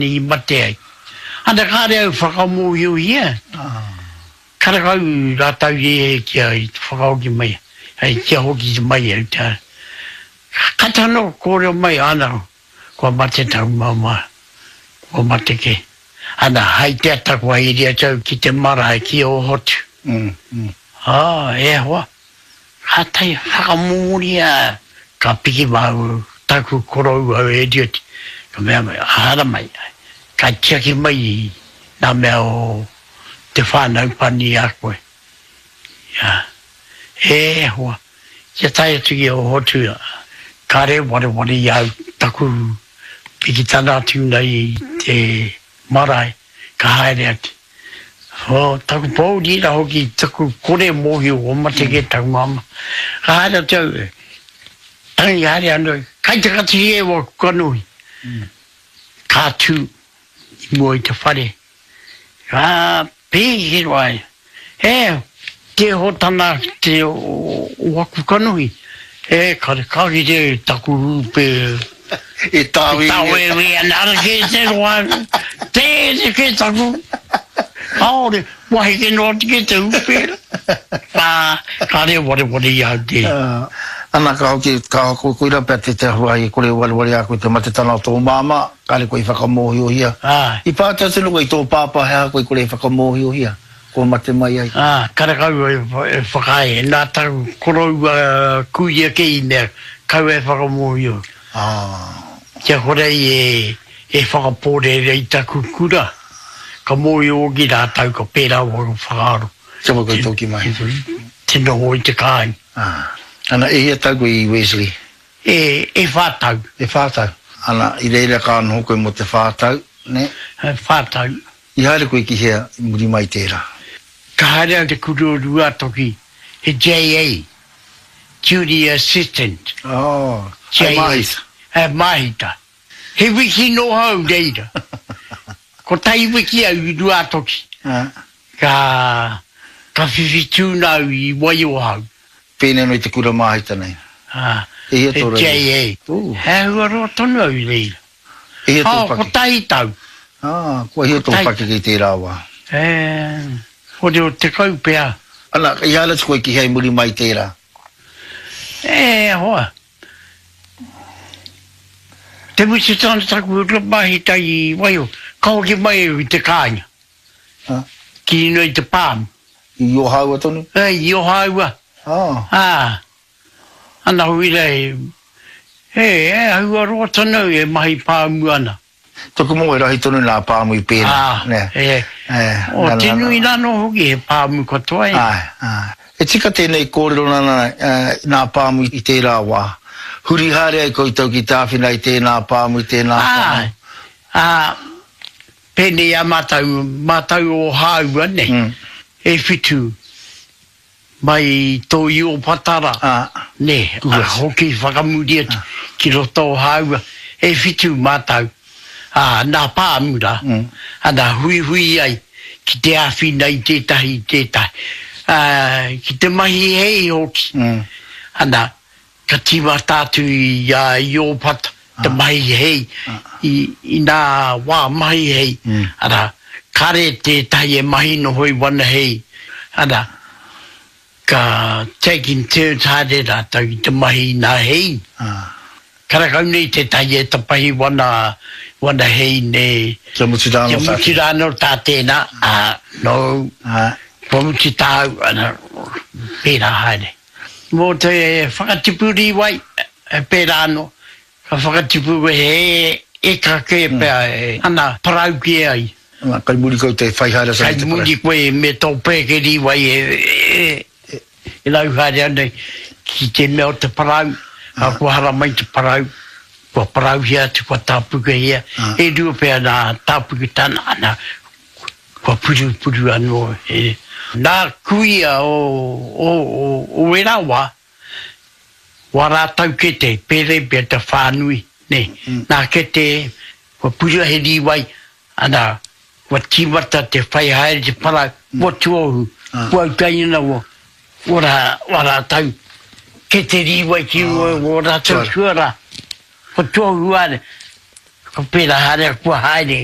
I mate ai. Ana kāre au whakamōhiohia, karekau rātau i kia i te whakahoki mai, hei kia hoki mai au te Kata anō kōrero mai, ana, kua mate taku māmā, kua mate kē. Ana, hai te ata kua haere atu au ki te marae ki Ōhotu. Ā, e hoa, Kātahi whakamōria ka piki māua taku koroua e Eliot, ka mea mai, haramai, ka tiaki mai i ngā mea o te whānau pani i a koe. Ia, e hoa, kia tae atu ki Ohotu, kāre wareware i a au taku pikitana atu nei i te marae, ka haere atu. Ko taku pōuri ra hoki taku kore mōhio kua mate kē taku māmā. Ka haere atu au, tangi haere ana, kai te kati e waku kanohi. Ka tū i mua i te whare, ka pēke roa ai, e, te hotana te o waku kanohi, e, kare ka rite taku rūpe E tāwēwē. E tāwēwē ana, ara kē te roa, tēnei kē taku, kāore, kua heke noa atu kē te hūpēra. Ā, kāre e wareware i a au tērā. Ana, ka hoki, ka koira pea te te ahuahi e kore e wareware a koe te matetanga o tō māmā, kāre koe i whakamōhiohia. I pātai atu anō koe i tō pāpā he aha koe i kore e whakamōhiohia, kua mate mai ai. Ā, karekau e whakaae, nā taku koroua kuia kē i mea, kaua e whakamōhio. Kia kore ai e whakapōrearea i taku kura, ka mōhio hoki rātou ka pērā waku whakaaro. Kia mau koutou ki mai. Te noho i te kāinga. Ana, e hia tau koe i Wesley? E, e whā tau. E whā tau. Ana, i reira ka noho koe mō te whā tau, nē? E whā tau. I haere koe ki hea i muri mai i tērā? Ka haere au te kura o Ruatoki, he JA. Duty Assistant. Oh, hei māhita. Hei māhita. He wiki noa au reira. Kotahi wiki au i Ruātoki. Ka, ka whiwhi tūna au i Waiohau. Pēnei anō i te kura māhita nei. Ha, e hia tō raini? JA. He āhua roa tonu au i reira. E hia tō pakeke? Oh, kotahi tau. Ah, kua hia tō pakeke i tērā wā? E, 60 pea. Ana, i haere atu koe ki hea i muri mai i tērā? E hoa, te mutu tana taku mahi tai i Waiho, ka hoki mai au i te kāinga, ki runga i te pāmu. I Ōhāua tonu? E, i Ōhāua. Ah. Ā, ana huira e, e, e ahua roa tonu au e mahi pāmu ana. Toku mō e rahi tonu nā pāmu i pēnā, Ā, nē. e, E, o nā, te nā, nā. nui rānō hoki he pāmu katoa e. Āe, āe. E tika tēnei kōrero nana, e, nā pāmu i tērā wā. Huri haere ai koutou ki te āwhina i tēnā pāmu, i tēnā pāmu. Āe, ā, pēnei a mātou, mātou o Hāua, nē, e whitu. Mai i tō Iopatara, nē, a hoki whakamuri atu ki roto o Hāua, e whitu mātau, ā, nā Pāmura, ana huihui ai ki te āwhina i tētahi i tētahi, ā, ki te mahi hei hoki, ana, ka tīmata atu i a Iopata te mahi hei i, i nā wā mahi hei, arā, kare tētahi e mahi noho i wana hei, arā, ka take in turns haere rātou i te mahi i nā hei. Karekau nei tētahi e tapahi wana, wana hei nē. Kia mutu rā anō tā Kia mutu rā anō tā tēnā, ā, nōu, kua mutu tāu, ana, pērā haere. Mō te whakatipu rīwai, he pērā anō, ka whakatipu he eka kē pea e ana parau kē ai. Ana, kai muri koutou e whai haere ana i te Kai parau. muri koe me tō pēke rīwai e rau haere ana ki te mea o te parau, ā, kua haramai te parau, kua parauhia atu, kua tāpukehia, e rua pea nā tāpuketanga, ana, Kua purupuru anō e nā kuia o, o, o, o ērā wā, wā rātau kete, pērei pea te whānui, nē. Nā kete, kua purua he rīwai, ana, kua tīmata te whai haere te para, kua tuohu, kua autai ana wā, wā rā, wā rātau kete rīwai ki wā rātau tuarā. Kua tuohu haere. Ka pērā haere, kua haere.